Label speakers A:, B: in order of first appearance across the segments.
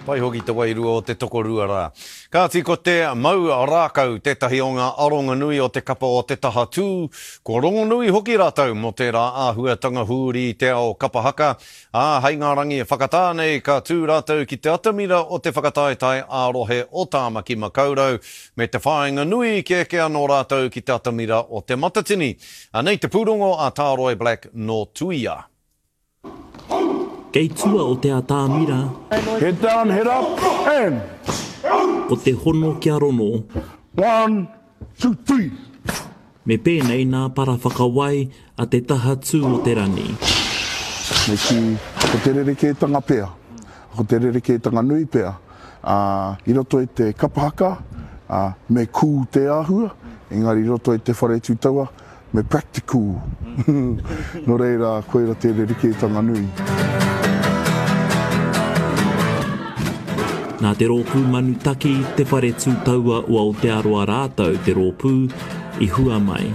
A: Pai hoki te wairua o te tokorua rā. Kāti ko te mau rākau tētahi o ngā aronga nui o te kapa o Te Taha Tū, kua rongonui hoki rātou mō tērā āhuatanga hūri i te ao kapa haka, ā, hei ngā rangi e whakatā nei ka tū rātou ki te atamira o te whakataetae ā-rohe o Tāmaki Makaurau me te whāinga nui kia eke anō rātou ki te atamira o Te Matatini. Anei te pūrongo a Tāroy Black nō Tuia.
B: Kei tua o te atamira.
C: Head down, head up, and.
B: Ko te hono kia rono.
C: One, two, three.
B: Me pēnei nā para whakawai a te taha tū o te rani.
C: Me kī, ko te rerekētanga pea, ko te rerekētanga nui pea, ā, i roto i te kapa haka, ā, me kū te āhua, engari i roto i te whare tū taua, Me practical. Nō reira, koira te rerekētanga nui.
B: Nā te rōpū Manu Taki, Te Whare Tū Taua o Aotearoa rātou te rōpū i hua mai.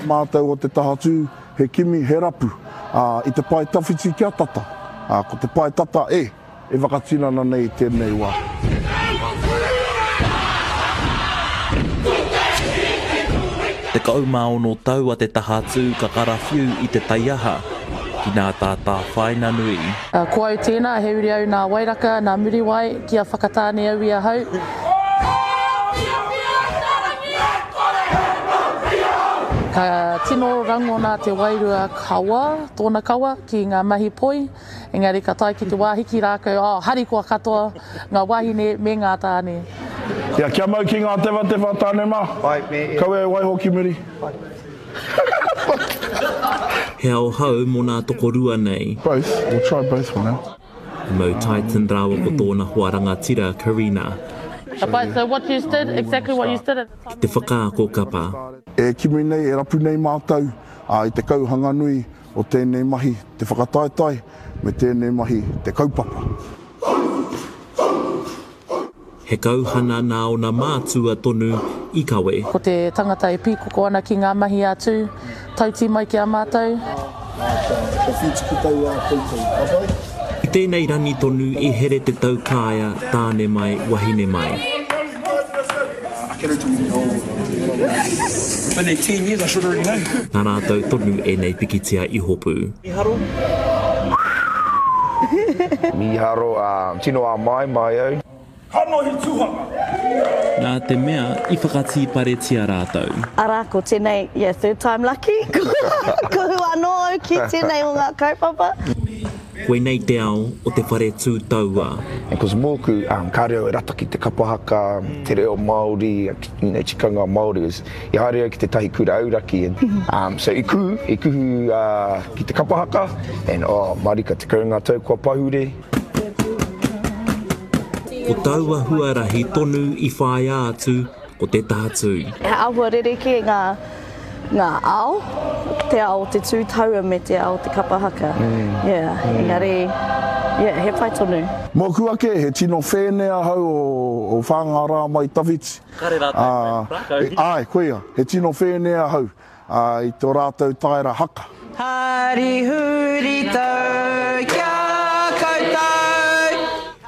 C: Mātou o te tahatū, he kimi, he rapu, ā, i te pae tawhiti kia tata, ā, ko te pae tata e. E whakatinana nei i tēnei wā.
B: 16 tau a Te Tahatū ka karawhiu i te taiaha ki nā tātāwhāina nui.
D: Ko au tēnā, he uri au nā Wairaka, nā Muriwai, kia whakatāne au i ahau. Ka tino rangona te wairua kawa, tōna kawa, ki ngā mahi poi. Engari ka tae ki te wā hiki rākau, oh, harikoa katoa ngā wāhine me ngā tāne.
C: Ia, kia mau ki ngā tewhatewha tāne mā. Kaua e waiho ki muri.
B: He ao hou mō nā tokorua nei.
C: Both, we'll try both for now.
B: Mo Titan rāua ko tōna hoa rangatira Karina.
D: Ka pai, so what you did, exactly what you did at the time.
B: Ki te whakaako kapa.
C: E kimi nei, e rapu nei mātou i te kauhanganui o tēnei mahi te whakataetae me tēnei mahi te kaupapa.
B: He kauhana nā ōna mātua tonu i kawe.
D: Ko te tangata e pīkoko ana ki ngā mahi a Tū, tautī mai ki a mātou.
B: I tēnei rangi tonu i here te taukaea tāne mai, wahine mai. Nā rātou tonu ēnei pikitia i hopu.
E: Mīharo, ā, tino āmaimai au.
F: Kanohi tuhanga.
B: Nā te mea i whakatīparetia rātou.
G: Arā, ko tēnei, yeah, third time lucky, kuhu anō au ki tēnei o ngā kaupapa.
B: Koinei te ao o te whare tū taua.
E: Because mōku, kāre au e rata ki te kapa haka, te reo Māori, you know, tikanga Māori. I haere au ki tētahi kura auraki and so i kuhu, i kuhu ki te kapa haka and oh, marika, 10 ngā tau kua pahure.
B: Ko taua huarahi tonu i whāia atu ko te tahatū.
G: He āhua rerekē ngā, ngā ao, te ao o te tū taua me te ao o te kapa haka. Yeah, engari, yeah, he pai tonu.
C: Mōku ake, he tino whēne ahau o Whāngārā mai tawhiti.
B: Kare rātou e whai rākau.
C: Āe, koia, he tino whēne ahau. Ā, i tō rātou taera haka.
H: Hari huritau ki a koutou.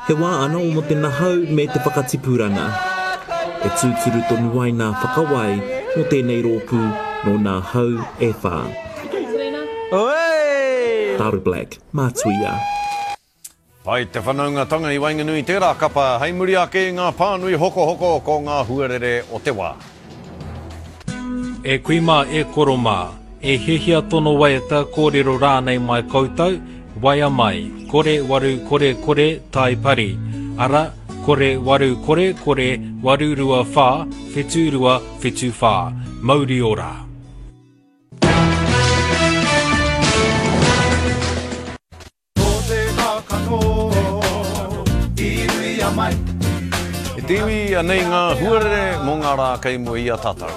B: He wā anō mō te nahau me te whakatipuranga. E tūturu tonu ai nā whakawai mō tēnei rōpū nō nā hau e whā. Tāru Black, Mātuia.
A: Pai te whanaungatanga i waenganui i tērā kapa hei muri ake i ngā pānui hokohoko ko ngā huarere o te wā.
I: E kui mā, e koro mā, e hiahia tono waiata, kōrero rānei mai koutou, waea mai, kore waru kore kore tai pari, ara, kore waru kore kore 8 2 4 7 2 7 4. Mauri ora!
F: Ko te kākano i ruia mai.
A: E te iwi, anei ngā huarere mō ngā rā kei mua i a tātou.